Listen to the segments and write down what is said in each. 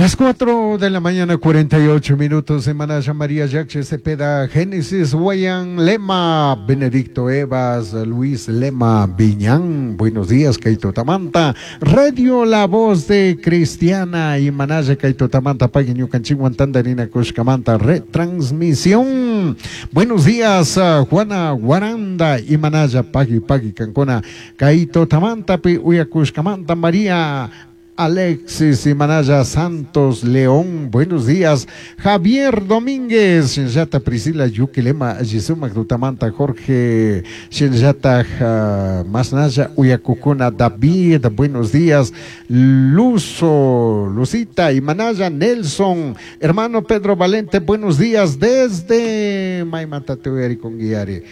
Las 4 de la mañana, 48 minutos, Semana María Yache Cepeda, Génesis Guayan Lema, Benedicto Evas, Luis Lema Viñán. Buenos días, Kaito Tamanta. Radio La Voz de Cristiana y Manaya Kaito Tamanta, Pagui Ñucanchingüan Tandarina Cushcamanta, retransmisión. Buenos días, Juana Guaranda y Manaya Pagui Pagui Cancona, Kaito Tamanta, Pi Uyacushcamanta, María. Alexis y Manaya Santos León, buenos días. Javier Domínguez, Shinllata Priscila Yuquilema, Yisumac Tutamanta, Jorge, Shinllata Masnaya Uyacucuna, David, buenos días. Luzo, Lucita y Manaya Nelson, hermano Pedro Valente, buenos días desde Maimatatueri con Guiari,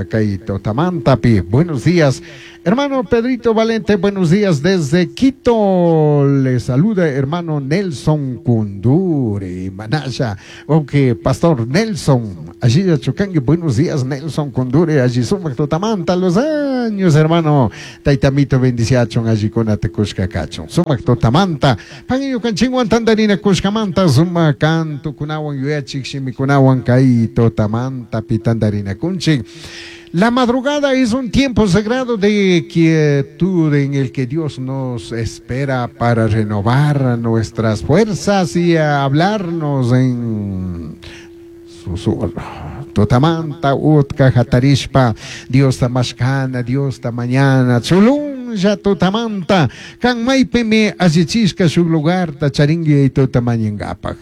Kaito Tamantapi, buenos días. Hermano Pedrito Valente, buenos días desde Quito. Le saluda hermano Nelson Kunduri, Manaya. Aunque Pastor Nelson, allí de Chucangui, buenos días Nelson Kunduri, allí sumac totamanta los años, hermano. Taitamito bendiciachon, allí con atecushka cachon. Sumac totamanta, panillo canchinguan tandarina cushkamanta, suma canto kunawan yuyachik shimikunawan kai totamanta pitandarina kunchik. La madrugada es un tiempo sagrado de quietud en el que Dios nos espera para renovar nuestras fuerzas y hablarnos en susurro. Tutamanta, utka, hatarishpa, Dios tamashkana, Dios ta mañana, chulunlla tutamanta, kan maypimi allichishka shuk lugarta charingui tutamañingapak.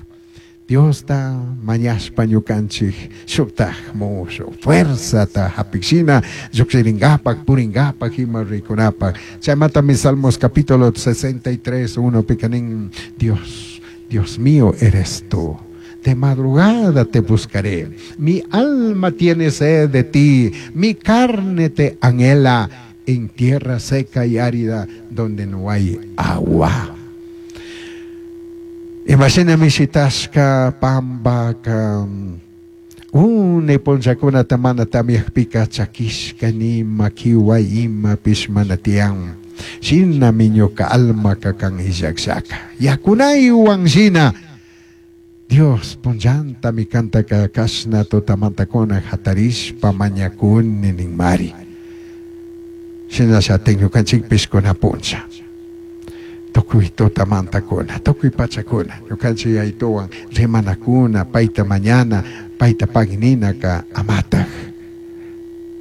Diosta mañashpa ñukanchik shuktaj mushu fuerzata hapikshina llukshiringapak puringapak ima rikunapak. Chaymantami Salmos capítulo 63, 1 pikanin, Dios, Dios mío eres tú. De madrugada te buscaré. Mi alma tiene sed de ti, mi carne te anhela en tierra seca y árida donde no hay agua. Imagina mishitashka pambaka une punllakunata mana tamyakpika chakishka nima kiwa imapish mana tiyan. Shinami ñuka almaka kan illakllaka. Yakunaywan shina. Dios punllantami kantaka kashna tutamantakuna hatarishpa mañakuni ninmari. Shinallatik ñukanchikpish kuna punlla. Tukuy tutamantakuna, tukuy pachakuna, ñukanchik yaytuwan rimanakuna, payta mañana, payta pagninaka amataj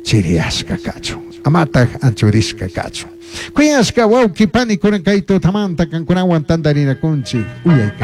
chiriyashka kachun, amataj anchurishka kachun. Kuyashka wawqi panikuna kay tutamanta kankunawan tantarinakunchik uyayka.